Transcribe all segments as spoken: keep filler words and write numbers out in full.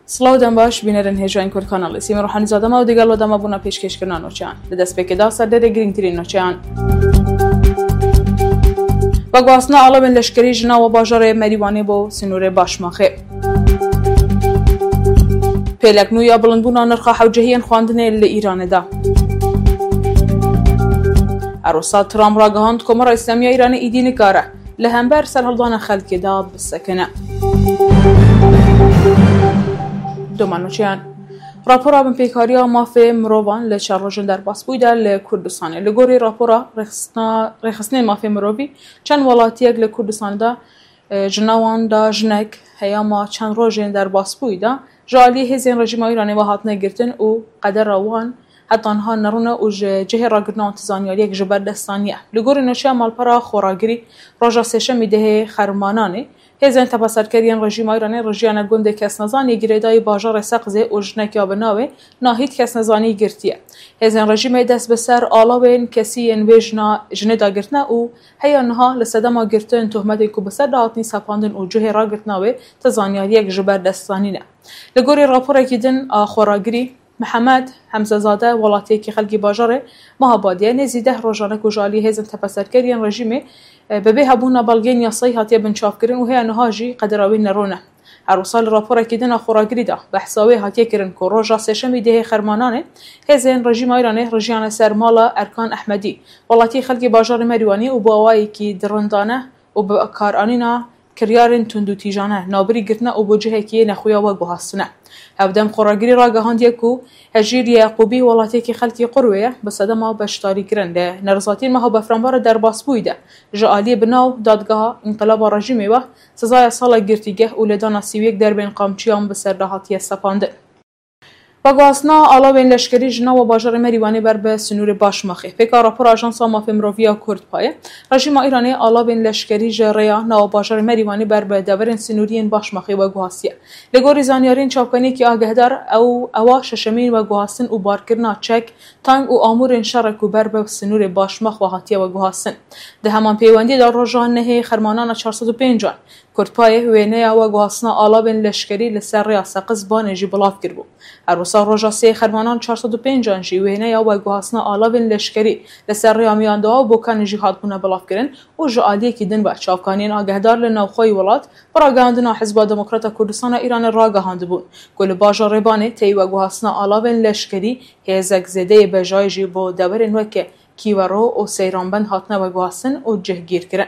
Silav dem baş, bînerên hêja yên Kurd Kanalê. Sîmî Ruhanîzade me û digel we dema bûna pêşkêşkirina nûçeyan. Di destpêkê de serdêrê girîngtirîn nûçeyan. Veguhastina alavên leşkerî ji nava bajarê Merîwanê bo sinûrê Başmaxê. Pêlek nû ya bilindbûna nirxa hewcehiyên xwendinê li Îranê de. Her wisa Trump ragihand, Komara Îslamî ya Îranê îdî nikare li hember serhildana xelkê de bisekine. Doma nûçeyan. Rapora binpêkariya mafê mirovan li çend rojên derbasbûyî de li Kurdistanê. Li gorî rapora rêxistina-, rêxistinên mafê mirovî, çend welatiyek li Kurdistanê de, e, ji nav wan de jinek, heyama çend rojên derbasbûyî de ji aliyê hêzên rejîma Îranê ve hatine girtin û qedera wan heta niha nerûne û ji cihê ragirtina wan ti zanyariyek ji ber dest daniye. Li gorî nûçeya malpera Xoragirî, roja sêşemî dehê Xermananê, hêzên tepeserker yên rejîma Îranê rijiyane gundê kesnezan yê girêdayî bajarê Seqizê û jinek ya bi navê Nahîd kesnezanî girtiye. Hêzên rejîmê dest bi ser alawên kesî yên wê jina, jinê de girtine û heya niha li sedema girtin, tohmetên ku bi ser de hatinî sepandin û cihê ragirtina wê ti zanyariyek ji ber dest zanîne. Li gorî raporekî din a Xoragirî, Mihemed Hemzezade, welatiyekî xelkî bajarê Mehabadiyê, nêzî deh rojan e ku ji alî hêzên tepeserker yên rejîmê, e, bi bê hebûna belgeyên yasayî hatiye binçavkirin û heya niha jî qedera wê nerûne. Her wisa li raporekî din a Xoragirî de behsa wê hatiye kirin ku roja sêşemî dehê Xermananê hêzên rejîma Îranê rijiyane ser mala Erkan Ehmedî, welatiyê xelkê bajarê Merîwanê û bi awayekî dirindane û bi karanîna kiryarên tundûtîjane navbirî girtine û bo cihekî nexuya we guhastine. Hevdem Xoragirî ragihandiye ku Hejîr Yeqûbî, welatiyekî xelkî Qurwê ye, bi sedema beşdarîkirin li nerizatiyên meha befranbara derbasbûyî de ji aliyê bi nav dadgeha înqilaba rejîmê ve sizaya sala girtîgeh û lêdana sî û yek derbên qamçiyan bi ser de hatiye sepandin. Veguhastina alavên leşkerî ji nava bajarê Merîwanê ber bi sinûrê Başmaxê. Pêka rapora Ajansa Mafê Mirovî ya Kurdpayê, rejîma Îranê alavên leşkerî ji rêya nava bajarê Merîwanê ber bi deverên sinûrî yên Başmaxê veguhastiye. Li gorî zanyariyên çavkaniyekî agehdar, ew, ewa şeşemîn veguhastin û barkirina çek, tank û amûrên şerê ku ber bi sinûrê Başmax ve hatiye veguhastin. Di heman pêwendiyê de roja nehê Xermanana çar sed û pêncan, Kurdpayê wêneya veguhastina alavên leşkerî li ser rêya Seqiz Banê jî belav kiribû. Her wisa roja sê Xermanan çar sed û pêncan jî wêneya veguhastina alavên leşkerî li ser rêya Miyandoa û Bokanê jî hatbûne belavkirin û ji aliyekî din ve çavkaniyên agehdar li navxweyî welat bi ragihandina Hizba Demokrata Kurdistana Îranê ragihandibûn ku li bajarê Banê teyî veguhastina alavên leşkerî hêzek zêdeyê bejayî jî bo deverên weke Kîvero û Seyranbend hatine veguhastin û cihgîrkirin.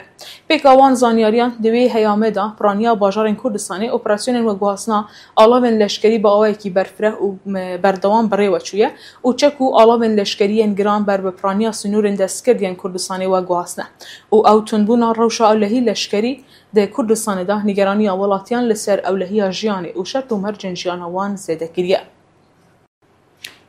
Pêka wan zanyariyan, di wê heyamê de piraniya bajarên Kurdistanê operasyonên veguhastina alavên leşkerî bi awayekî berfireh û, me, berdewam bi rê ve çûye û çek û alavên leşkerî yên giran ber bi piraniya sinûrên destgird yên Kurdistanê veguhastine û ew tundbûna rewşa ewlehî leşkerî di Kurdistanê de nîgeraniya welatiyan li ser ewlehiya jiyanê û şert û mercên jiyana wan zêde kiriye.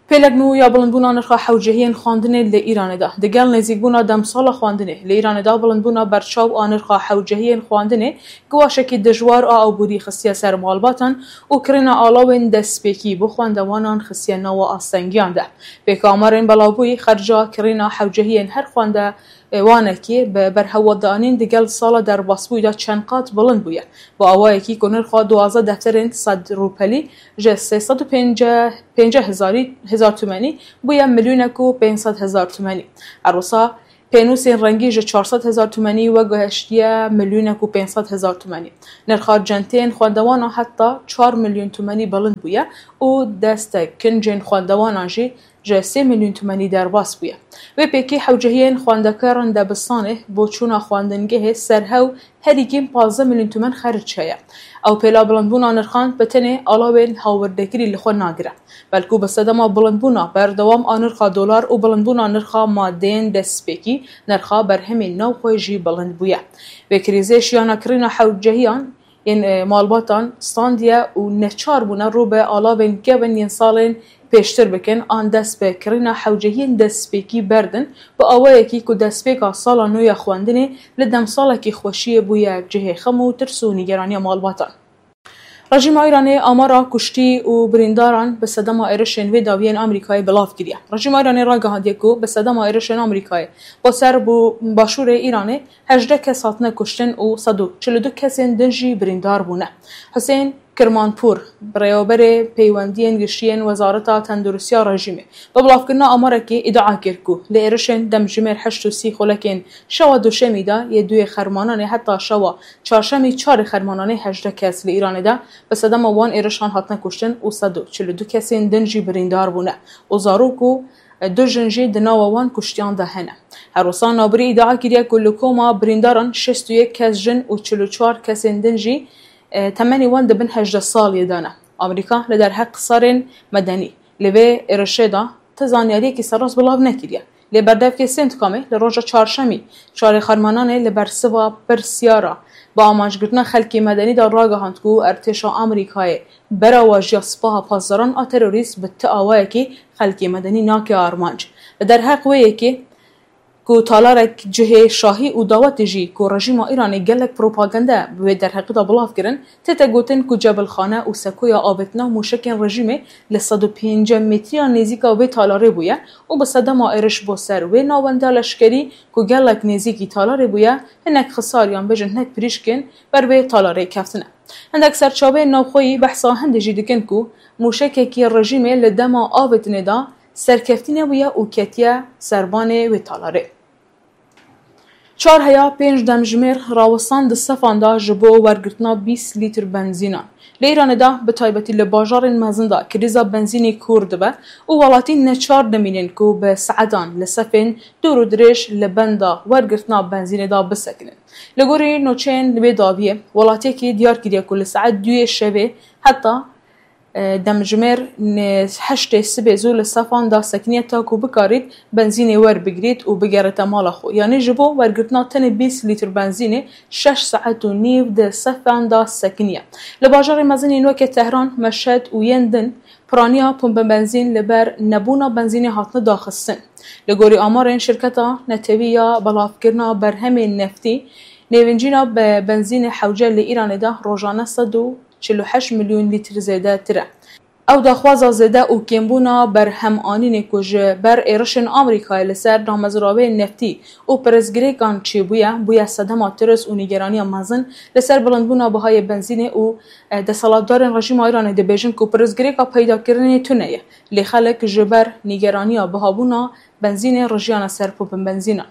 Pêlek nû ya bilindbûna nirxa hewcehiyên xwendinê li Îranê de. Digel nêzîkbûna demsala xwendinê, li Îranê de bilindbûna berçaw a nirxa hewcehiyên xwendinê giwaşekî dijwar a abûrî xistiye ser malbatan û kirîna alawên destpêkî bo xwendewanan xistiye nava astengiyan de. Pêka amarên belavbûyî, xerca kirîna hewcehiyên her xwende e, wanekî bi berhewaddanîn digel sala derbasbûyî de çend qat bilind bûye. Bi awayekî ku nirxa duwazdeh defterên sed rûpelî ji sê sed û pêncî hezar, hezar tumenî bûye milyonek û pênc sed hezar tumenî. Her wisa pênûsên rengî ji çar sed hezar tumenî veguheştiye milyonek û pênc sed hezar tumenî. Nirxa centeyên xwendewana heta çar milyon tumenî bilind bûye û destek kincên xwendewanan jî ji sê milyon tumenî derbas bûye. Wê pêkê hewcehiyên xwendekaran debistanê bo çûna xwendingehê serhew herî kêm pazdeh milyon tumen xerc heye. Ew pêla bilindbûna nirxan bi tenê alawên hawirdekirî li xwe nagire, belkû bi sedema bilindbûna berdewam a nirxa dolar û bilindbûna nirxa madeyên destpêkî, nirxa berhemên navxwe jî bilind bûye. Vê krîzê şiyana kirîna hewcehiyan yên, e, malbatan standiye û neçar bûne rû bi alavên kevin yên salên pêştir bikin an dest bi kirîna hewcehiyên destpêkî berdin, bi awayekî ku destpêka sala nû ya xwendinê li demsalekî xweşiyê bûye cihê xem û tirs û nîgeraniya malbatan. Rejîma Îranê amara kuştî û birîndaran bi sedema êrişên vê dawiyên Amerîkayê belav kiriye. Rejîma Îranê ragihandiye ku bi sedema êrişên Amerîkayê bo ser bo başûrê Îranê hejdeh kes hatine kuştin û sed û çil û du kesên din jî birîndar bûne. Husên Kirmanpûr, birêveberê peywendiyên giştî yên Wezareta Tenduristiya rejîmê, bi bilavkirina amarekê îdia kir ku li êrişên demjimêr heşt û sî xulekên şewa Duşemî de yê duyê Xermananê heta şewa Çarşemî çarê Xermananê hejdeh kes li Îranê de bi sedema wan êrişan hatine kuştin û sed û çil û du kesên din jî birîndar bûne û zarok û du jin jî di nava wan kuştiyan de hene. Her wisa navbirî îdia kiriye ku li koma birîndaran şêst û yek kes jin û çil û çar kesên din jî, e, temenê wan di bin hejdeh saliyê de ne. Amerîka li derheq xisarên medenî li vê êrişê de ti zanyariyekî serrast belav nekiriye. Lê berdevkê Centcomê li roja çarşemî, çarê Xermananê, li bersiva pirsiyara bi amanjgirtina xelkê medenî de ragihand ku erdhêşa Amerîkayê berawajiya Sipaha Pasdaran a terorîst bi ti awayekî xelkê medenî nake armanc. Li derheq wê yekê ku talarek cihê şahî û dawetê jî ku rejîma Îranê gelek propagande bi wê derheqî de belav kirin, tête gotin ku cebilxane û sekoya avêtina mûşekên rejîmê li sed û pêncî metriya nêzîka wê talarê bûye û bi sedema êriş bo ser wê navenda leşkerî ku gelek nêzîkî talarê bûye, hinek xisar yan bêjin hinek pirîşkên ber vê talarê keftine. Hindek serçaveyên navxweyî behsa hindê jî dikin ku mûşekekî rejîmê li dema avêtinê de serkeftî nebûye û ketiye serbanê wê talarê. Çar heya pênc demjimêr rawistan di sefan de ji bo wergirtina bîst lîtr benzînan. Li Îranê de, bi taybetî li bajarên mezin de krîza benzînê kûr dibe û welatî neçar dimînin ku bi saetan li sefên dûr û dirêj li benda wergirtina benzînê de bisekinin. Li gorî nûçeyên wê dawiyê, welatiyekî diyar kiriye ku li saet duyê şevê heta, e, demjimêr ne-, heştê sibê zû li sefan de sekiniye ta ku bikarît benzînê werbigirît û bigerite mala xwe. Yanî ji bo wergirtina tenê bîst lîtr benzînê şeş saet û nîv di sefan de sekiniye. Li bajarê mezin yên weke Tehran, Meşhed û yên din piraniya pumpa benzîn li ber nebûna benzînê hatine daxistin. Li gorî amarên şirketa netewî ya belavkirina berhemên neftî, nêvincîna be-, benzînê hewce li Îranê de rojane sed û çil û heşt milyon lîtr zêdetir e. Ew daxwaza zêde û kêmbûna berhemanînê ku ji ber êrişên Amerîkayê li ser damezrabeyên neftî û pirsgirêkan çêbûye, bûye sedema tirs û nîgeraniya mezin li ser bilindbûna bihayê benzînê û, e, desthilatdarên rejîma Îranê dibêjin ku pirsgirêka peydakirinê tune ye, lê xelk ji ber nîgeraniya bihabûna benzînê rijiyane ser pûpin benzînan.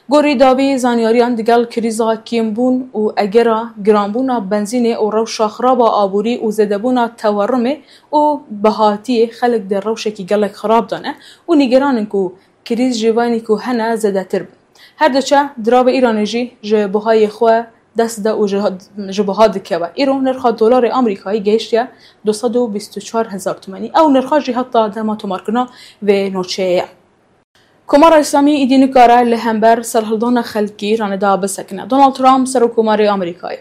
Gorî dawî zanyariyan digel krîza kêmbûn û egera giranbûna benzînê û rewşa xiraba aborî û zêdebûna tewerrimê û bihatiyê xelk di rewşekî gelek xirab de ne û nîgeran in ku krîz ji vanî ku hene zêdetir bin. Her diçe diravê Îranê jî ji buhayê xwe dest de û ji, ji buha dikeve. Îro nirxa dolarê Amerîkayî gehiştiye du sed û bîst û çar hezar tumenî. Ew nirxa jî heta dema tomarkirina vê nûçeyê ye. Komara Îslamî îdî nikare li hember serhildana xelkê Îranê de bisekine. Donald Trump, Serokkomarê Amerîkayê,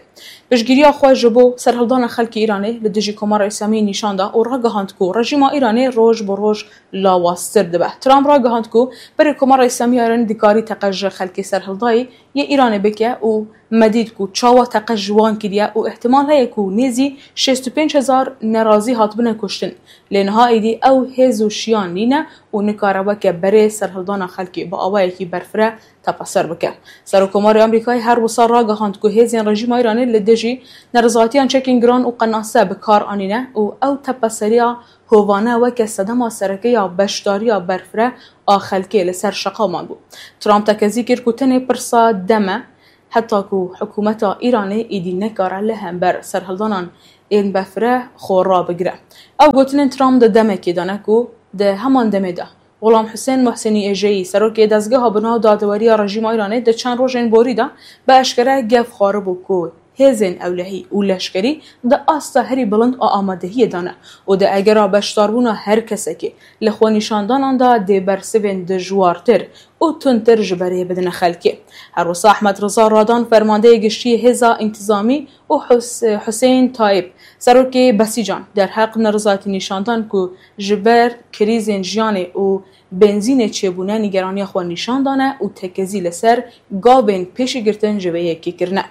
piştgiriya xwe ji bo serhildana xelkê Îranê li dijî Komara Îslamî nîşan da û ragihand ku rejîma Îranê roj bi roj lawaztir dibe. Trump ragihand ku berê Komara Îslamî Îranê dikarî teqez ji xelkê serhildayî yê Îranê bike û me dît ku çawa teqez ji wan kiriye û îhtimal heye ku nêzî şêst û pênc hezar nerazî hatibine kuştin. Lê niha êdî ew hêz û şiyan nîne û nikare weke berê serhildana xelkê bi awayekî berfireh tepeser bike. Serokkomarê Amerîkayê her wisa ragihand ku hêzên rejîma Îranê li dijî nerizatiyan çekên giran û qenase bi kar anîne û ew tepeseriya hovane weke sedema sereke ya beşdariya berfireh a xelkê li ser şeqa mabû. Trump tekezî kir ku tenê pirsa dem e, heta ku hikûmeta Îranê êdî nekare li hember serhildanan ên berfireh xwe rabigire. Ew gotinên Trump di demekê de ne ku di heman demê de Xulam Husên Muhsînî Êjeyî, serokê dezgeha bi nav dadeweriya rejîma Îranê, di çend rojên borî de bi eşkere gef xwaribû ku hêzên ewlehî û leşkerî di asta herî bilind a amadehiyê de ne û di egera beşdarbûna her kesekê li xwenîşandanan de dê bersivên dijwartir û tundtir ji berê bidine xelkê. Her wisa Ehmed Riza Radan, fermandeyê giştî hêza întîzamî û Hus-, Huseyîn Tayîb, serokê Besîcan, derheq nerizayetî nîşan dan ku ji ber krîzên jiyanê û benzînê çêbûne nîgeraniya xwe nîşan dane û tekezî li ser gavên pêşîgirtin ji vê yekê kirine.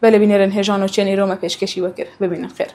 Belê bînerên hêja nûçeyên îro me pêşkêşî we kir. Bimînin xêr.